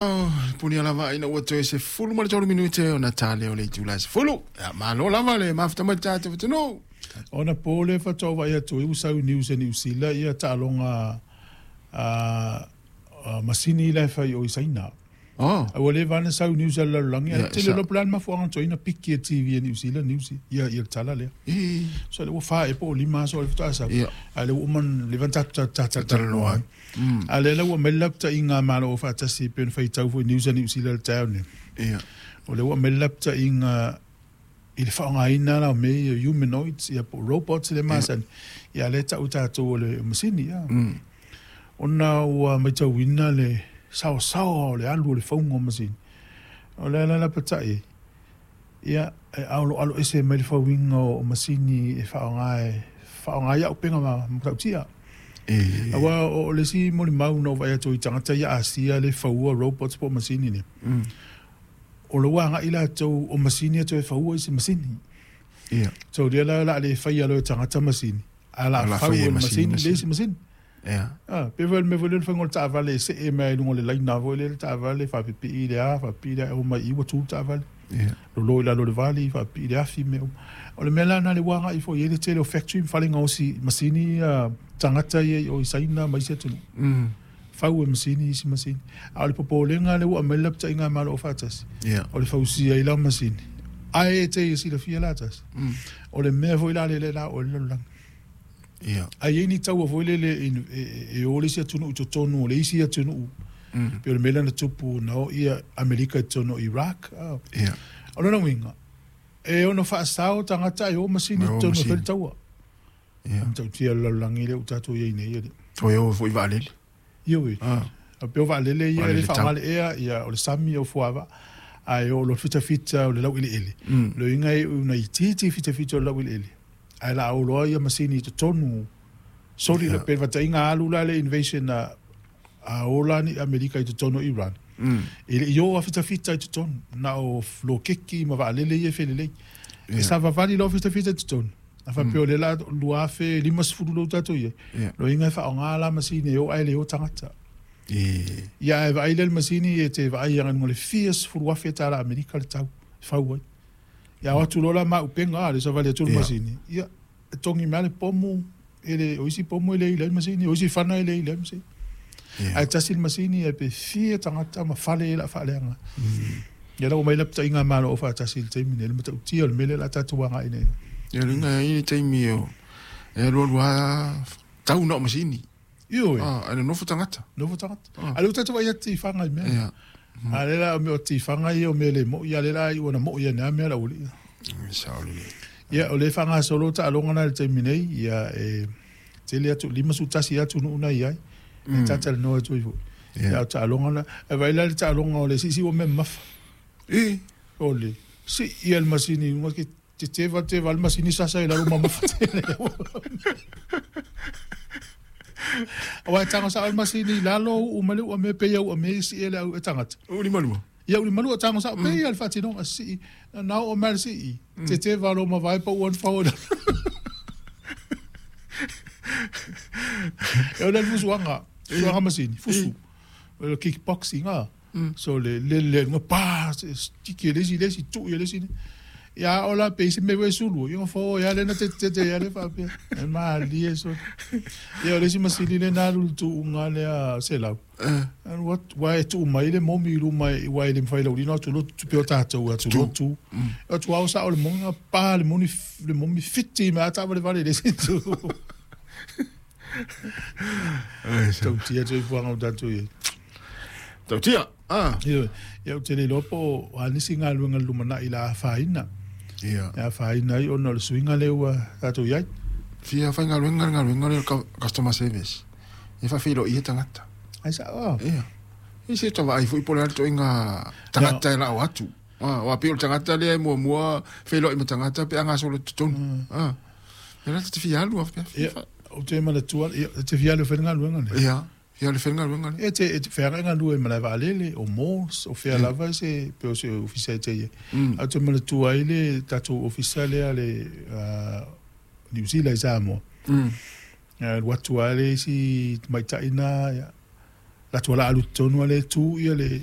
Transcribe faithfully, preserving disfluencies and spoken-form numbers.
Punia lava ina ua toe sefulu ma le tolu minute ona tale o le itula e sefulu. Ia, malo lava le mafuta mai le tatou atunuu. Ona po le faatoa vaai atu ai ua sau i news a Niu Sila ia taaloga a a masini la e fai o i Saina. Oh. A ua leva ona sau news a le lalolagi, ae Ia, tele sa- loa po o le a le mafuaaga na tuai ona piki e T V a Niu Sila news ia ia le tala lea. E. So le ua fa e po o lima aso o le faatoa sau. Ia. A le ua uma ona leva ona tatou Talanoa ai. talatalanoa. A lea la ua aumai le lapataiga a Malo Faatasi pei ona faitau foi news a Niu Sila i le taeao nei. Ia. O lea ua aumai le lapataiga i le faaaogaina la o mea ia humanoids ia po o robots le masani. Ia lea e tau tatou o le masini. Ia. Mm. Ona ua matauina le saosaoa o le alu o le fauga o masini. O le ala la patai, ia, e aloalo ese mai le fauina o masini e faaaoga e faaaoga ai auupega ma matautia. E. Aua o le isi molimau na ou vaai atu i tagata ia Asia le faua robots po o masini nei. Mm. O le ua agai latou o masini e toe faua i se masini. Ia. So lea la o le a le faia loa e tagata masini. A la O le a fau faia e e le masini, masini, le isi masini. Ia. Ah, pe foi le mea foi lea le faiga o le taavale e see mai ai i luga o le laina foi lea le taavale faapipii le a, faapipii le a, e o mai i ua tu le taavale. Ia. Lolo i lalo o le vali, faapipii le afi mea uma. O le mea la na le ua agai foi i ai le tele o factory ma fale gaosi masini ia tagata ia i o i Saina ma isi atunuu. Mm. Fau e masini isi masini. A o le popolega lea ua aumai le lapataiga a Malo Faatasi. Ia. O le fausia ai la o masini. Ae e te i silafia la tasi. Mm. O le mea foi la le le la o le lalolagi. Ia. Ai e ni taua foi lele e, e, e o le isi atunuu i totonu o le isi atunuu. Mm. Pe o le mea lea na tupu na o ia Amerika i totonu o Iraq. Ah. Ia. O lona uiga, e ono faasao tagata e o masini E o i totonu o masini. fai le taua. Ia. Matautia le lalolagi lea ua tatou i ai nei e le. Toe o foi vaalele. Ia ue. Ah. A pe o vaalele ia, e le Vaalele tau. faaaoga le ea, ia, o le sami o fuava. Ae o lo fitafita o le laueleele. Mm. Le uiga e una itiiti fitafita o le laueleele. Ae la au loa ia masini i totonu. Soli Ia. la pe fataiga alu la le invasion a, a ola ni Amerika i totonu o Iran. Mm. E le i o a fitafita i totonu. Na o lokeki ma vaalele ia e felelei. E Ia. savavali loa fitafita i totonu. A faapea o le la lua afe lima sefulu lou tatou i ai. Ia. Lo inga e faaaoga la masini e o ae le o tagata. E. Ia e vaai lea le masini e te vaai aga luga o le fia sefulu afe tala Amerika le tau e fau ai. Ia o atu loa la mauupega a le savali atu le Ia. masini. Ia, e togi mai le pomu, e le, o isi pomu e le i le masini, o isi fana e le i le masini. Ia. Ae tasi le masini e pe fia tagata ma fale e la faaleaga. Ia la ua mai lapataiga a Malo o Faatasi i le taimi nei, le matautia o le mea lea o le a tatou agai nei. Ia luga ai le taimi o e alu alu lava tau na o masini. Ioe, Ah, ae nonofo tagata. nofo tagata. Ah. A lea ua tatou vaai atu i tifaga i mea. Ia. A lea la o mea o tifaga ia o mea le mo'i, a lea la ai ua na mo'i ane a mea la ua li'a. Sao lelei. Ia, o le faagasolo taaloga na i le taimi nei, ia e tele atu, lima sefulu tasi atunuu na i ai. E tatalanoa atu ai foi. Ia. Ia, o taaloga na, e vaai la le taaloga o le siisii ua mea mamafa. E. O le sii ia le masini i luga ke te teva teva le masini sasa i lalo mamafa tele. Aua e tago sao le masini i lalo uu ma le ua mea pe ia ua mea sii e le au e tagata. O lima lua. Ia uli malua tago sao pe ia le faatinoga sii. Na oo mai le sii. Te teva lo mavae pa ua na fao i lalo. E o le fusuaga, fusuaga masini, fusu. O le kickboxing a. So le le le luga pa, tiki e le isi le isi, tuu ia le isi. Ia o la pe i se mea e sulu, ia fao ia le na te te te ia le faapea. E malie so. Ia o le isi masini le na alu i le tuuga lea selau. Eh. Alu atu, ua e tuu mai le momi i luma i ua e le mawhai laulina atu lotu tupe o tātou atu lotu. Atu au sao le monga pa le moni le momi fiti me ata vale vale le isi tu. Ai, sa- Tautia te fuanga o tātou i. Tautia. Ah. Ia, ia ou te le iloa po o a nisi galuega i le lumanai la afaina. Ia. E afaina ai ona o le suiga lea ua tatou i ai. Fia faigaluega le galuega lea o le cu- customer service. E faafeiloai tagata. Ai sao. Ia. E se tavaai foi po o le a le toaiga tagata e lao atu. Ah, aua pei o le tagata lea e muamua feiloai ma tagata pe a gasolo i totonu. Ah. Ia la te fia alu a pea. Ia, ou te manatua, ia, e te fia alu e fai le galuega lea. Ia. Fia alu e fai le galuega lea. E te, e te feagai galue i malae vaalele, o malls, o fea lava se, pe o se ofisa e te ia. Mm. Ae ou te manatua ai le tatou ofisa lea le uh, New Zealand i Samoa. Mm. Ia, alu atu lava le isi tamaitai na, ia, latou ala alu totonu ale tu ia le